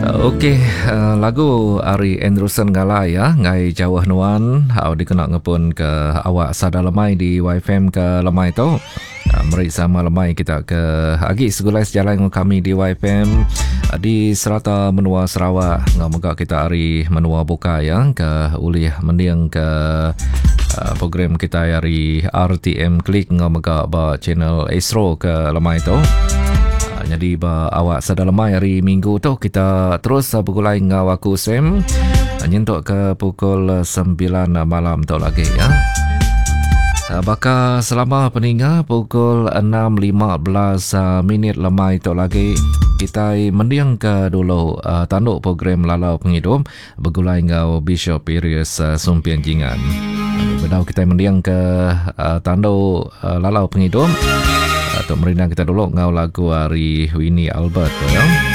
Okey, uh, lagu ari Andrewson Galai ya, ngai jauh nuan, au dikena ngepun ke awak sada lemai di YFM ke lemai tu. Uh, meri sama lemai kita ke agi segulai sejalai dengan kami di YFM uh, di serata menua Sarawak ngau mega kita ari menua bukai ya ke ulih mending ke uh, program kita ari RTM Klik ngau mega ba channel Astro ke lemai tu. Nyadi ba awak sada lemai hari minggu tu kita terus begulai enggau aku Sam nyentuk ke pukul 9 malam tu lagi ya. Baka selama peninga pukul 6.15 minit lemai tu lagi kita mending ke dulu tanduk program Lalau Pengidup begulai enggau Bishop Pirius Sumping Jingan. Bedau kita mending ke tanduk Lalau Pengidup tu merindang kita dulu enggau lagu ari Winnie Albert tu ya.